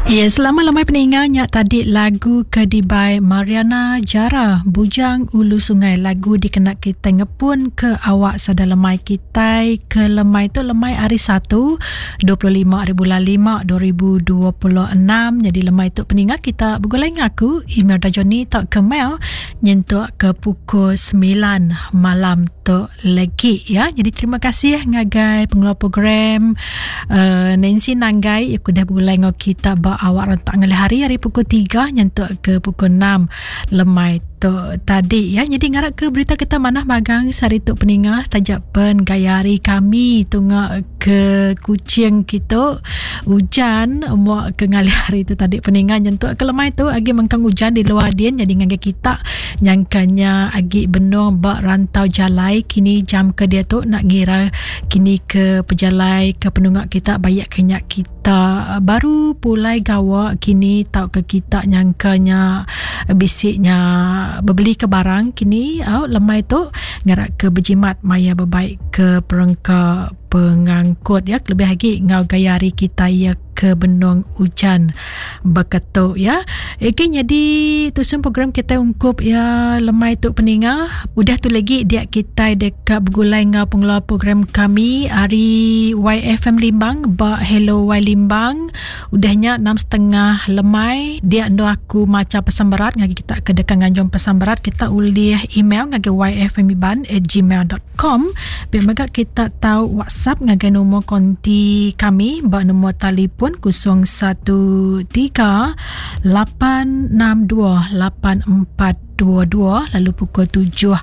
Ya, selamat lemai peninga nya tadi lagu ke dibai Mariana Jara Bujang Ulu Sungai lagu dikena kita ngepun ke awak sada lemai kitai ke lemai tu lemai hari 1 25 hari bulan 5 2026 jadi lemai tu peninga kita begulai ngaku email Dajoni tau ke mail nyentuk ke pukul 9 malam tu legi ya. Jadi terima kasih ngagai pengeluar program uh, Nancy Nanggai yang udah begulai ngau kita ba awak rentak ngalih hari hari pukul 3 nyentuk ke pukul 6 lemai tu tadi ya. Jadi ngarap ke berita kita manah magang sehari tu peninga tajak pen gaya hari kami tunga ke Kuching kita hujan muak ke ngalih hari tu tadi peninga nyentuk ke lemai tu agi mengkang hujan di luar din jadi ngagai kita nyangkanya agi benung ba rantau jalai kini jam ke dia tu nak ngira kini ke pejalai ke penunga kita bayak ke nya kita baru pulai gawa kini tau ke kita nyangkanya bisi nya bebeli ke barang kini au lemai tu ngarak ke bejimat maya bebaik ke perengka pengangkut ya lebih lagi ngau gaya hari kita ya ke benung ujan beketu ya. Okey jadi tusun program kita ungkup ya lemai tu peninga. Udah tu lagi dia kita dekat begulai ngau pengelola program kami hari YFM Limbang ba Hello Y Limbang. Udahnya 6.30 lemai dia endo aku maca pesan berat ngagi kita ke dekat nganjung pesan berat kita ulih email ngagi yfmiban@gmail.com Com. Pia mega kita tau WhatsApp ngagai nombor konti kami ba nombor telefon 013 862 8422 lalu pukul 7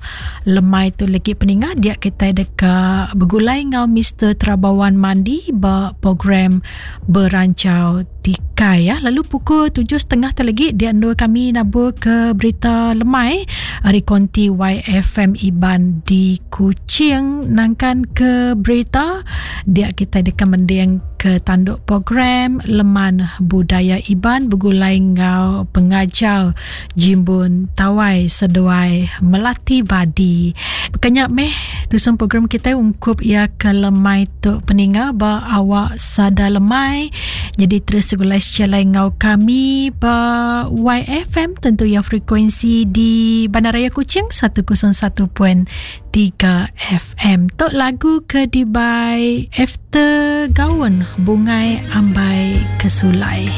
lemai tu lagi peninga dia kita deka begulai ngau Mr. Terabawan Mandi ba program Berancau Tikai ya. Lalu pukul 7.30 tu lagi dia endur kami nabur ke berita lemai hari konti YFM Iban di Kuching nangkan ke berita dia kita deka mending ke tanduk program Leman Budaya Iban begulai ngau pengajar Jimbun Tawai seduai Melati Badi. Bekanya meh tusun program kita ungkup ia ke lemai tu peninga ba awak sada lemai. Jadi terus segulai sejalai ngau kami ba YFM tentu ya frekuensi di Bandaraya Kuching 101.3 FM. Tok lagu ke dibai After Gaun Bungai Ambai Kesulai.